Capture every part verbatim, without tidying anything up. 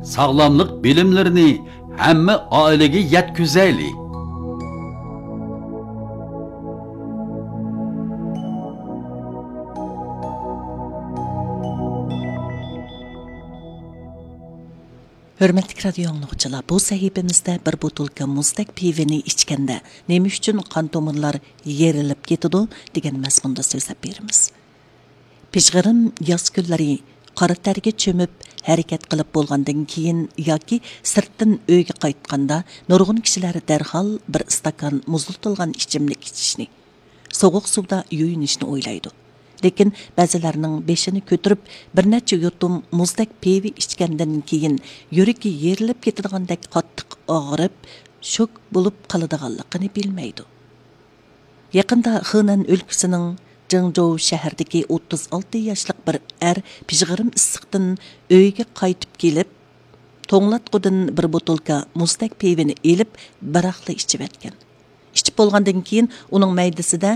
ساغلاملىق بىلىملىرىنى ھەممە ئائىلىگە يەتكۈزەيلى. ھۆرمەتلىك رادىيو ئاڭلىغۇچىلار، بۇ سەھىپىمىزدە بىر بوتۇلكا مۇزدەك پىۋىنى ئىچكەندە نېمە ئۈچۈن قان تومۇرلار يېرىلىپ كېتىدۇ دېگەن مەزمۇندا سۆزلەپ بېرىمىز. پىژغىرىم ياز كۈنلىرى قارا تەرگە چۆمۈپ ھەرىكەت قىلىپ بولغاندىن كېيىن ياكى سىرتتىن ئۆيگە قايتقاندا نۇرغۇن كىشىلەر دەرھال بىر ئىستاكان مۇزلىتىلغان ئىچىملىك ئىچىشنى، سوغۇق سۇدا يۇيۇنۇشنى ئويلايدۇ. لېكىن بەزىلەرنىڭ بېشىنى كۆتۈرۈپ بىر نەچچە يۇتۇم مۇزدەك پىۋا ئىچكەندىن كېيىن يۈرىكى يېرىلىپ كېتىدىغاندەك قاتتىق ئاغرىپ، شوك بولۇپ قالىدىغانلىقىنى بىلمەيدۇ. يېقىندا خېنەن ئۆلكىسىنىڭ جېڭجوۋ شەھىرىدىكى ئوتتۇز ئالتە ياشلىق بىر ئەر پىژغىرىم ئىسسىقتىن ئۆيىگە قايتىپ كېلىپ، توڭلاتقۇدىن بىر بوتۇلكا مۇزدەك پىۋىنى ئېلىپ، بىراقلا ئىچىۋەتكەن. ئىچىپ بولغاندىن كېيىن ئۇنىڭ مەيدىسىدە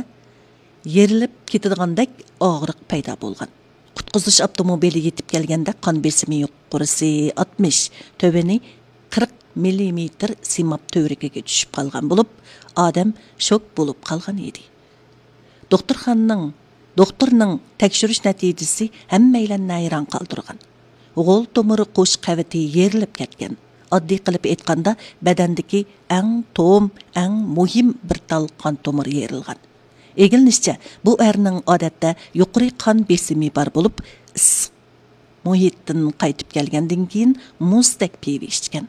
يېرىلىپ كېتىدىغاندەك ئاغرىق پەيدا بولغان. قۇتقۇزۇش ئاپتوموبىلى يېتىپ كەلگەندە قان بېسىمى يۇقىرىسى ئاتمىش، تۆۋىنى قىرىق مىللىمېتىر سىماب تۈۋرۈكىگە چۈشۈپ قالغان بولۇپ، ئادەم شوك بولۇپ قالغان ئىدى. دوختۇرخانىنىڭ، دوختۇرنىڭ تەكشۈرۈش نەتىجىسى ھەممەيلەننى ھەيران قالدۇرغان. غول تومۇر قوش قەۋىتى يېرىلىپ كەتكەن. ئاددىي قىلىپ ئېيتقاندا، بەدەندىكى ئەڭ توم، ئەڭ مۇھىم بىر تال قان تومۇرى يېرىلغان. ئىگىلىنىشىچە، بۇ ئەرنىڭ ئادەتتە يۇقىرى قان بېسىمى بار بولۇپ، ئىسسىق مۇھىتتىن قايتىپ كەلگەندىن كېيىن مۇزدەك پىۋا ئىچكەن.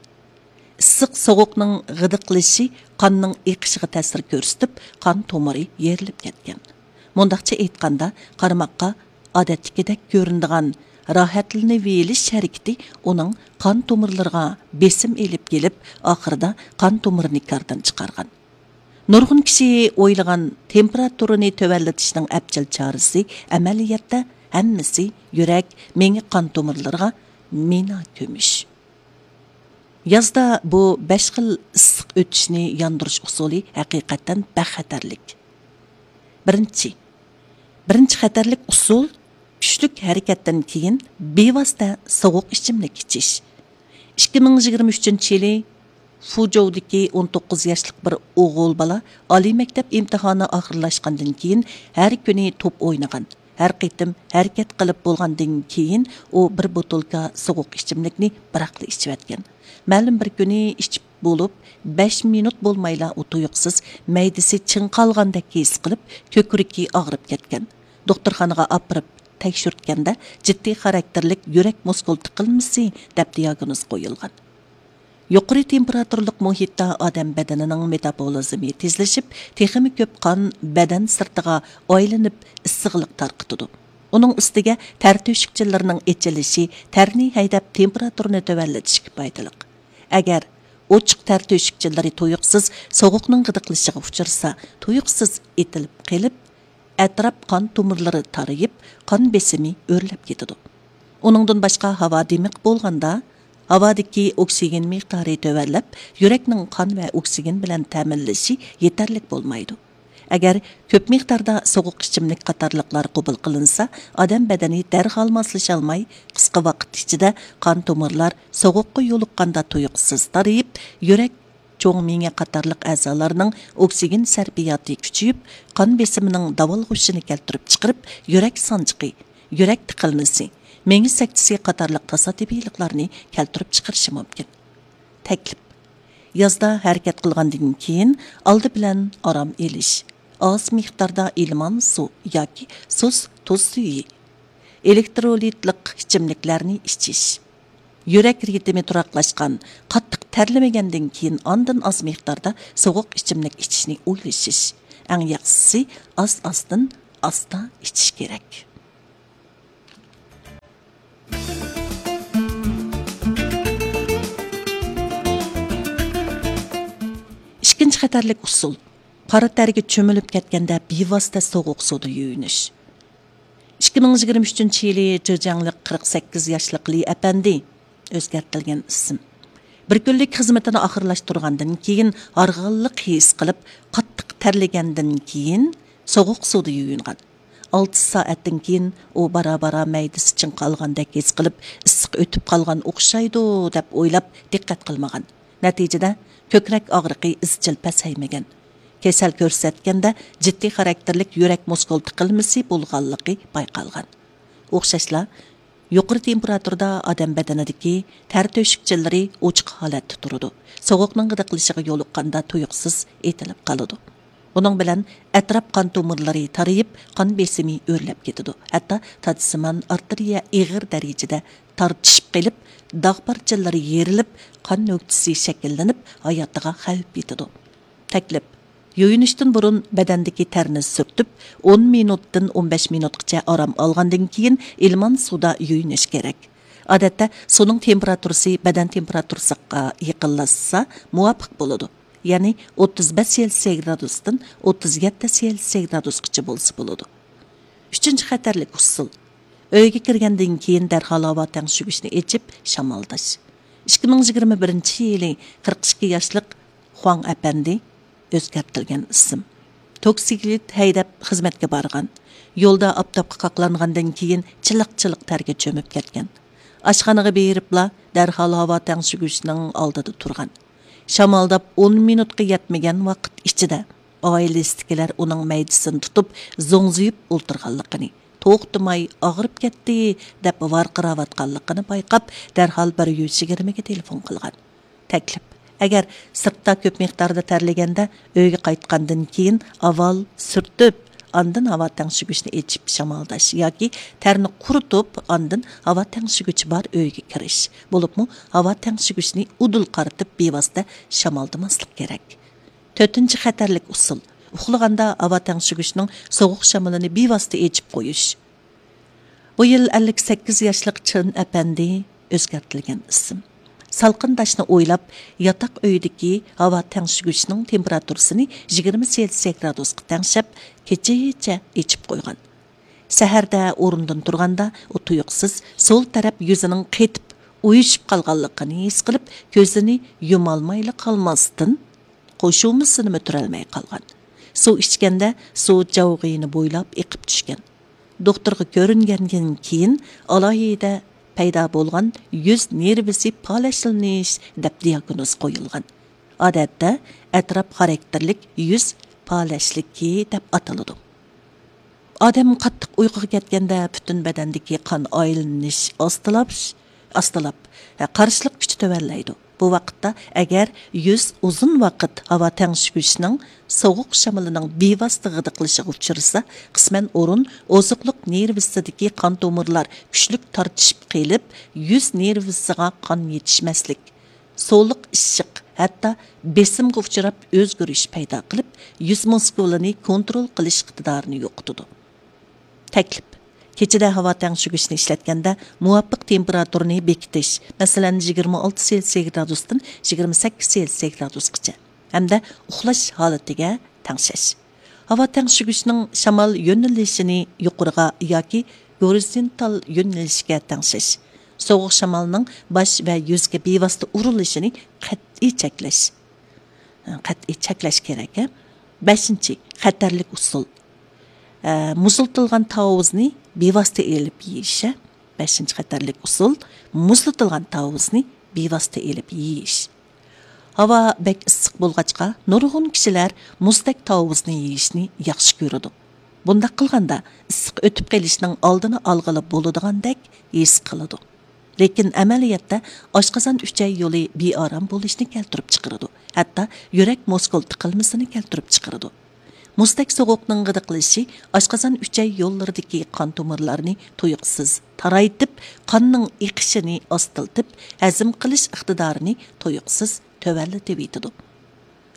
ئىسسىق سوغۇقنىڭ غىدىقلىشى قاننىڭ ئېقىشىغا تەسىر كۆرسىتىپ، قان تومۇرى يېرىلىپ كەتكەن. مۇنداقچە ئېيتقاندا، قارىماققا ئادەتتىكىدەك كۆرۈنىدىغان راھەتلىنىۋېلىش ھەرىكىتى ئۇنىڭ قان تومۇرلىرىغا بېسىم ئېلىپ كېلىپ، ئاخىرىدا قان تومۇرىنى كاردىن چىقارغان. نۇرغۇن كىشى ئويلىغان تېمپېراتۇرىنى تۆۋەنلىتىشنىڭ ئەپچىل چارىسى ئەمەلىيەتتە ھەممىسى يۈرەك، مېڭە قان تومۇرلىرىغا مىنا كۆمۈش. يازدا بۇ بەش خىل ئىسسىق ئۆتۈشنى ياندۇرۇش ئۇسۇلى ھەقىقەتەن بەك خەتەرلىك. بىرىنچى، بىرىنچى خەتەرلىك ئۇسۇل، كۈچلۈك ھەرىكەتتىن كېيىن بىۋاسىتە سوغۇق ئىچىملىك ئىچىش. ئىككى مىڭ يىگىرمە ئۈچىنچى يىلى فۇجوۋدىكى ئون توققۇز ياشلىق بىر ئوغۇل بالا ئالىي مەكتەپ ئىمتىھانى ئاخىرلاشقاندىن كېيىن ھەر كۈنى توپ ئوينىغان. ھەر قېتىم ھەرىكەت قىلىپ بولغاندىن كېيىن ئۇ بىر بوتۇلكا سوغۇق ئىچىملىكنى بىراقلا ئىچىۋەتكەن. مەلۇم بىر كۈنى ئىچىپ بولۇپ، بەش مىنۇت بولمايلا ئۇ تۇيۇقسىز مەيدىسى چىڭقالغاندەك ھېس قىلىپ، كۆكرىكى ئاغرىپ كەتكەن. دوختۇرخانىغا ئاپىرىپ تەكشۈرتكەندە، جىددىي خاراكتېرلىك يۈرەك مۇسكۇل تىقىلمىسى دەپ دىياگنوز قويۇلغان. يۇقىرى تېمپېراتۇرىلىق مۇھىتتا ئادەم بەدىنىنىڭ مېتابولىزمى تېزلىشىپ، تېخىمۇ كۆپ قان بەدەن سىرتىغا ئايلىنىپ، ئىسسىقلىق تارقىتىدۇ. ئۇنىڭ ئۈستىگە تەر تۆشۈكچىلىرىنىڭ ئېچىلىشى تەرنى ھەيدەپ، تېمپېراتۇرىنى تۆۋەنلىتىشكە پايدىلىق. ئەگەر ئوچۇق تەر تۆشۈكچىلىرى تۇيۇقسىز سوغۇقنىڭ غىدىقلىشىغا ئۇچرىسا، تۇيۇقسىز ئېتىلىپ قېلىپ، ئەتراپ قان تومۇرلىرى تارىيىپ، قان بېسىمى ئۆرلەپ كېتىدۇ. ئۇنىڭدىن باشقا، ھاۋا دىمىق بولغاندا، ھاۋادىكى ئوكسىگېن مىقدارى تۆۋەنلەپ، يۈرەكنىڭ قان ۋە ئوكسىگېن بىلەن تەمىنلىشى يېتەرلىك بولمايدۇ. ئەگەر كۆپ مىقداردا سوغۇق ئىچىملىك قاتارلىقلار قوبۇل قىلىنسا، ئادەم بەدىنى دەرھال ماسلىشالماي، قىسقا ۋاقىت ئىچىدە قان تومۇرلار سوغۇققا يولۇققاندا تۇيۇقسىز تارىيىپ، يۈرەك، چوڭ مېڭە قاتارلىق ئەزالارنىڭ ئوكسىگېن سەرپىياتى كۈچىيىپ، قان بېسىمىنىڭ داۋالغۇشىنى كەلتۈرۈپ چىقىرىپ، يۈرەك سانجىقى، يۈرەك تىقىلمىسى، مېڭە سەكتىسى قاتارلىق تاسادىپىيلىقلارنى كەلتۈرۈپ چىقىرىشى مۇمكىن. تەكلىپ. يازدا ھەرىكەت قىلغاندىن كېيىن ئالدى بىلەن ئارام ئېلىش، ئاز مىقداردا ئىلمان سۇ ياكى سۇس تۇز سۈيى، ئېلېكترولىتلىق ئىچىملىكلەرنى ئىچىش. يۈرەك رىتىمى تۇراقلاشقان، قاتتىق تەرلىمىگەندىن كېيىن ئاندىن ئاز مىقداردا سوغۇق ئىچىملىك ئىچىشنى ئويلىشىش. ئەڭ ياخشىسى ئاز-ئازدىن ئاستا ئىچىش كېرەك. ئىككىنچى خەتەرلىك ئۇسۇل، قارا تەرگە چۆمۈلۈپ كەتكەندە بىۋاسىتە سوغۇق سۇدا يۇيۇنۇش. ئىككى مىڭ يىگىرمە ئۈچىنچى يىلى جېجياڭلىق قىرىق سەككىز ياشلىق لى ئەپەندى، ئۆزگەرتىلگەن ئىسىم، بىر كۈنلۈك خىزمىتىنى ئاخىرلاشتۇرغاندىن كېيىن ھارغىنلىق ھېس قىلىپ، قاتتىق تەرلىگەندىن كېيىن سوغۇق سۇدا يۇيۇنغان. ئالتە سائەتتىن كېيىن ئۇ بارا-بارا مەيدىسى چىڭقالغاندەك ھېس قىلىپ، ئىسسىق ئۆتۈپ قالغان ئوخشايدۇ، دەپ ئويلاپ دىققەت قىلمىغان. نەتىجىدە، كۆكرەك ئاغرىقى ئىزچىل پەسەيمىگەن. كېسەل كۆرسەتكەندە، جىددىي خاراكتېرلىك يۈرەك مۇسكۇل تىقىلمىسى بولغانلىقى بايقالغان. ئوخشاشلا، يۇقىرى تېمپېراتۇرىدا ئادەم بەدىنىدىكى تەر تۆشۈكچىلىرى ئوچۇق ھالەتتە تۇرىدۇ. سوغۇقنىڭ غىدىقلىشىغا يولۇققاندا تۇيۇقسىز ئېتىلىپ قالىدۇ. بۇنىڭ بىلەن ئەتراپ قان تومۇرلىرى تارىيىپ، قان بېسىمى ئۆرلەپ كېتىدۇ. ھەتتا تاجسىمان ئارتېرىيە ئېغىر دەرىجىدە تارتىشىپ قېلىپ، داغ پارچىلىرى يېرىلىپ، قان نۆكتىسى شەكىللىنىپ، ھاياتىغا خەۋپ يېتىدۇ. تەكلىپ. يۇيۇنۇشتىن بۇرۇن بەدەندىكى تەرنى سۈرتۈپ، ئون مىنۇتتىن ئون بەش مىنۇتقىچە ئارام ئالغاندىن كېيىن، ئىلمان سۇدا يۇيۇنۇش كېرەك. ئادەتتە سۇنىڭ تېمپېراتۇرىسى بەدەن تېمپېراتۇرىسىغا يېقىنلاشسا مۇۋاپىق بولىدۇ. يەنى ئوتتۇز بەش سېلسىيە گرادۇستىن ئوتتۇز يەتتە سېلسىيە گرادۇسقىچە بولسا بولىدۇ. ئۈچىنچى خەتەرلىك ئۇسۇل. ئۆيگە كىرگەندىن كېيىن دەرھال ھاۋا تەڭشىگۈچنى ئېچىپ شامالداش. ئىككى مىڭ يىگىرمە بىرىنچى يىلى قىرىق ئىككى ياشلىق خۇاڭ ئەپەندى، ئۆزگەرتىلگەن ئىسىم، توكسىكلىت ھەيدەپ خىزمەتكە بارغان. يولدا ئاپتاپقا قاقلانغاندىن كېيىن چىلىق-چىلىق تەرگە چۆمۈپ كەتكەن. ئاشخانىغا بېرىپلا دەرھال ھاۋا تەڭشىگۈچنىڭ ئالدىدا تۇرغان. شامالداپ ئون مىنۇتقا يەتمىگەن ۋاقىت ئىچىدە ئائىلىسىدىكىلەر ئۇنىڭ مەيدىسىنى تۇتۇپ زوڭزىيىپ ئولتۇرغانلىقىنى، توختىماي «ئاغرىپ كەتتى» دەپ ۋارقىراۋاتقانلىقىنى بايقاپ، دەرھال بىر يۈز يىگىرمىگە تېلېفون قىلغان. تەكلىپ. ئەگەر سىرتتا كۆپ مىقداردا تەرلىگەندە، ئۆيگە قايتقاندىن كېيىن ئاۋۋال سۈرتۈپ، ئاندىن ھاۋا تەڭشىگۈچنى ئېچىپ شامالداش ياكى تەرنى قۇرۇتۇپ، ئاندىن ھاۋا تەڭشىگۈچى بار ئۆيگە كىرىش. بولۇپمۇ ھاۋا تەڭشىگۈچنى ئۇدۇل قارىتىپ، بىۋاسىتە شامالدىماسلىق كېرەك. تۆتىنچى خەتەرلىك ئۇسۇل. ئۇخلىغاندا ھاۋا تەڭشىگۈچنىڭ سوغۇق شامىلىنى بىۋاسىتە ئېچىپ قويۇش. بۇ يىل ئەللىك سەككىز ياشلىق چىن ئەپەندى، ئۆزگەرتىلگەن ئىسىم، سالقىنداشنى ئويلاپ، ياتاق ئۆيدىكى ھاۋا تەڭشىگۈچنىڭ تېمپېراتۇرىسىنى يىگىرمە سېلسىيە گرادۇسقا تەڭشەپ، كېچىچە ئېچىپ قويغان. سەھەردە ئورنىدىن تۇرغاندا، ئۇ تۇيۇقسىز سول تەرەپ يۈزىنىڭ قېتىپ ئۇيۇشۇپ قالغانلىقىنى ھېس قىلىپ، كۆزىنى يۇمالمايلا قالماستىن، قوشۇمىسىنىمۇ تۈرەلمەي قالغان. سۇ ئىچكەندە، سۇ جاۋغىيىنى بويلاپ ئېقىپ چۈشكەن. دوختۇرغا كۆرۈنگەندىن كېيىن، ئالاھىدە پەيدا بولغان يۈز نېرۋىسى پالەچلىنىش دەپ دىياگنوز قويۇلغان. ئادەتتە ئەتراپ خاراكتېرلىك يۈز پالەچلىكى دەپ ئاتىلىدۇ. ئادەم قاتتىق ئۇيقۇغا كەتكەندە، پۈتۈن بەدەندىكى قان ئايلىنىش ئاستىلاپ، ئاستىلاپ، قارشىلىق كۈچى تۆۋەنلەيدۇ. بۇ ۋاقىتتا ئەگەر يۈز ئۇزۇن ۋاقىت ھاۋا تەڭشىگۈچنىڭ سوغۇق شامىلىنىڭ بىۋاسىتە غىدىقلىشىغا ئۇچرىسا، قىسمەن ئورۇن ئوزۇقلۇق نېرۋىسىدىكى قان تومۇرلار كۈچلۈك تارتىشىپ قېلىپ، يۈز نېرۋىسىغا قان يېتىشمەسلىك، سۇلۇق ئىششىق، ھەتتا بېسىمغا ئۇچراپ ئۆزگىرىش پەيدا قىلىپ، يۈز مۇسكۇلىنى كونترول قىلىش ئىقتىدارىنى يوقىتىدۇ. تەكلىپ. كېچىدە ھاۋا تەڭشىگۈچنى ئىشلەتكەندە، مۇۋاپىق تېمپېراتۇرىنى بېكىتىش، مەسىلەن، يىگىرمە ئالتە سېلسىيە گرادۇستىن يىگىرمە سەككىز سېلسىيە گرادۇسقىچە، ھەمدە ئۇخلاش ھالىتىگە تەڭشەش. ھاۋا تەڭشىگۈچنىڭ شامال يۆنىلىشىنى يۇقىرىغا ياكى گورىزونتال يۆنىلىشكە تەڭشەش. سوغۇق شامالنىڭ باش ۋە يۈزگە بىۋاسىتە ئۇرۇلۇشىنى قەتئىي چەكلەش. قەتئىي چەكلەش كېرەك، ھە؟ بەشىنچى خەتەرلىك ئۇسۇل. ئە، مۇزلىتىلغان تاۋۇزنى بىۋاسىتە ئېلىپ يېيىش، ھە؟ بەشىنچى خەتەرلىك ئۇسۇل، مۇزلىتىلغان تاۋۇزنى بىۋاسىتە ئېلىپ يېيىش. ھاۋا بەك ئىسسىق بولغاچقا، نۇرغۇن كىشىلەر مۇزدەك تاۋۇزنى يېيىشنى ياخشى كۆرىدۇ. بۇنداق قىلغاندا، ئىسسىق ئۆتۈپ قېلىشنىڭ ئالدىنى ئالغىلى بولىدىغاندەك ھېس قىلىدۇ. لېكىن ئەمەلىيەتتە ئاشقازان ئۈچەي يولى بىئارام بولۇشنى كەلتۈرۈپ چىقىرىدۇ، ھەتتا يۈرەك مۇسكۇل تىقىلمىسىنى كەلتۈرۈپ چىقىرىدۇ. مۇزدەك سوغۇقنىڭ غىدىقلىشى ئاشقازان ئۈچەي يوللىرىدىكى قان تومۇرلارنى تۇيۇقسىز تارايتىپ، قاننىڭ ئېقىشىنى ئاستىلىتىپ، ھەزىم قىلىش ئىقتىدارىنى تۇيۇقسىز تۆۋەنلىتىۋېتىدۇ.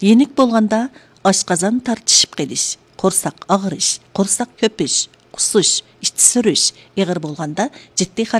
يېنىك بولغاندا ئاشقازان تارتىشىپ قېلىش، قورساق ئاغرىش، قورساق كۆپۈش، قۇسۇش، ئىچى سۈرۈش، ئېغىر بولغاندا جىددىي